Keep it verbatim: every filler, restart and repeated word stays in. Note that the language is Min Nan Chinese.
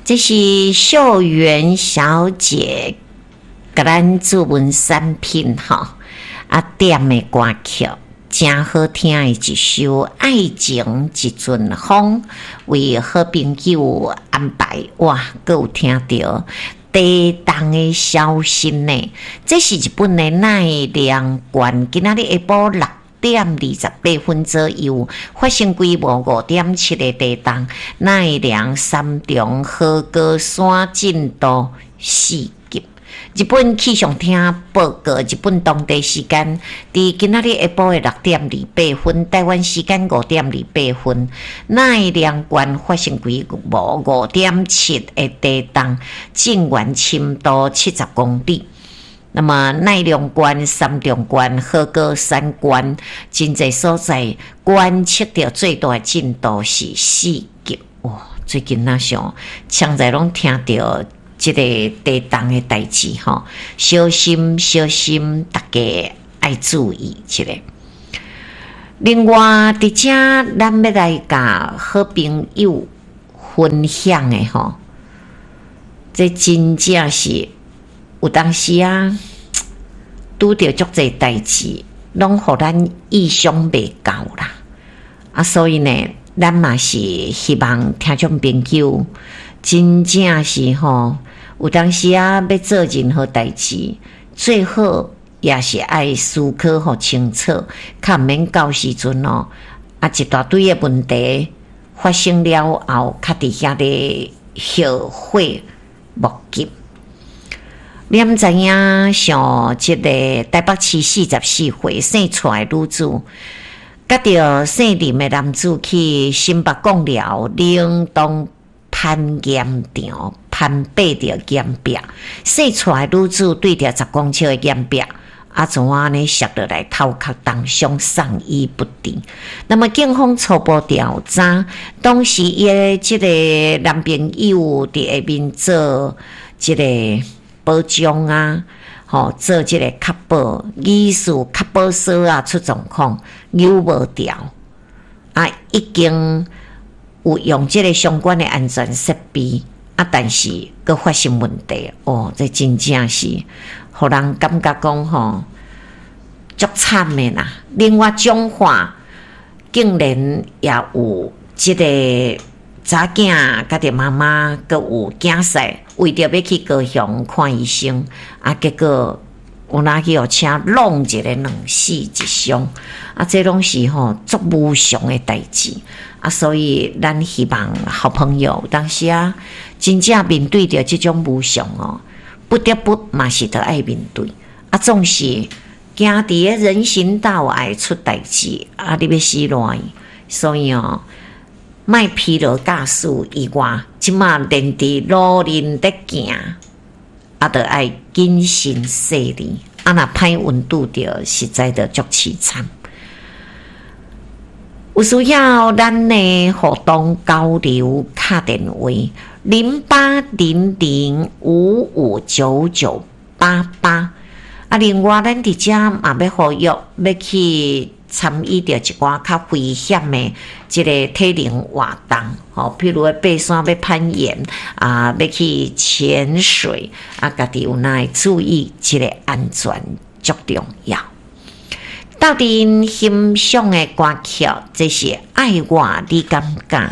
這是秀媛小姐共咱注文產品吼，啊點的歌曲，誠好聽的一首《愛情一陣風》，為好朋友安排，哇，閣有聽著地動的消息呢。這是日本的奈良縣，今仔日下晡六點二十八分左右發生規模五點七的地動，奈良三重和歌山震度四級。日本氣象廳報告，日本當地時間佇今仔日下晡的六點二八分，台灣時間五點二八分，奈良縣發生規模五點七的地動，震源深度七十公里。那麼奈良縣、三重縣、和歌山縣，真濟所在觀測著最大震度是四級。哇！最近若像常在攏聽著這个地動的代誌吼，小心小心，大家愛注意一下。另外，佇遮咱欲來共好朋友分享的吼，這真正是有當時啊，拄著足濟代誌，攏予咱意想袂到啦。啊，所以呢，咱嘛是希望聽眾朋友真正是吼，有當時啊，欲做任何代誌，最好也是愛思考予清楚，較毋免到時陣哦，啊一大堆的問題發生了後，較佇遐咧後悔莫及。你毋知影，像這个台北市四十四歲姓蔡的女子，佮著姓林的男子去新北貢寮冷凍攀岩場攀爬著岩壁，姓蔡的女子對著十公尺的岩壁，啊，怎按呢摔落來，頭殼重傷，送醫不治。那麼警方初步調查，當時伊的這个男朋友佇下面做這個保障啊，吼，做這个確保，疑似確保鎖啊出狀況，扭無牢，啊，已經有用這个相關的安全設備，啊，但是閣發生問題，哦，這真正是予人感覺講吼，足慘的啦。另外，彰化竟然也有這个查囝佮著媽媽，閣有囝婿，為著欲去高雄看醫生，啊，結果有哪去予車挵一个兩死一傷，啊，這攏是吼足無常的代誌，啊，所以咱希望好朋友當時啊，真正面對著這種無常哦，不得不嘛是著愛面對，啊，總是行佇个人行道會出代誌，啊，你欲死賴，所以哦，莫疲勞駕駛以外，這馬連佇路面咧行，啊，著愛謹慎細膩，啊，若歹運拄著，實在著足淒慘。有需要咱的互動交流，敲電話零八零零五五九九八八。啊，另外咱佇遮嘛欲呼籲，欲去參與著一寡較危險的這个體能活動，吼，譬如爬山欲攀岩，啊，欲去潛水，啊，家己有哪會注意這个安全足重要。鬥陣欣賞的歌曲，這是愛我你敢敢？